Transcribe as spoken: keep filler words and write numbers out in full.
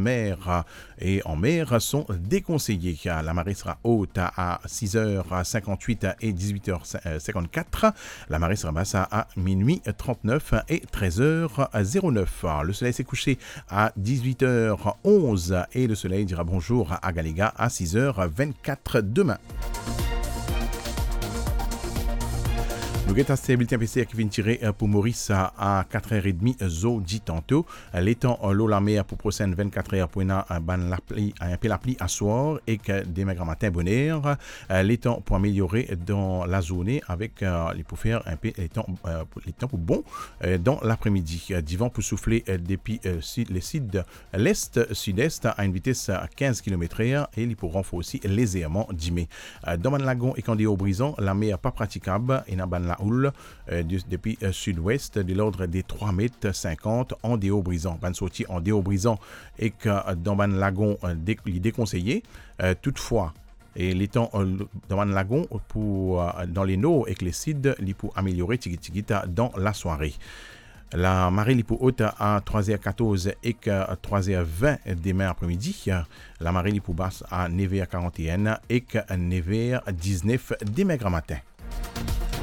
mer e an mer son dekonseye. Lamare sera ot a sis er sinkant-wit e diz-wit er sinkant-kat. Lamare sera bas a minwi trant-nef e trez er zero-nef. Le soleil se kouse a diz-wit er onz e le soleil dira bonzour a Galiga a sis er vinn-kat demin. Nou get sa bilten APCR ki finn tire, eh, pou Moris a, a kat er edmi zordi tanto. Letan, eh, lor lamer pou prosenn vinn-kat er pou ena, eh, bann lapli, eh, inpe lapli aswar ek, eh, demin gramatin boner. Eh, letan pou ameliore dan lazourne avek, eh, li pou fer inpe letan, eh, pou, letan pou bon, eh, dan lapremidi. Eh, divan pou soufle, eh, depi, eh, sid, lesid, lest, sidest a enn vites kinz kilomet er e li pou ranforsi lezerman dime. Dan bann lagon ek andeor Brizan, lamer pa pratikab, ena bann laoul, eh, de, depi, eh, sidwes, de lord de trwa met sinkant andeor Brizan. Bann sorti andeor Brizan ek, eh, dan bann lagon, eh, de, li dekonseye. Eh, toutfwa, e letan, eh, dan bann lagon pou, eh, dan lenor ek lesid, li pou ameliore tigit tigit, eh, dan lasware. Lamare li pou ot a trwa er katorz ek trwa er vin demin apremidi. Lamare li pou bas a nef er karant-e-enn ek nef er diznef demin gramatin.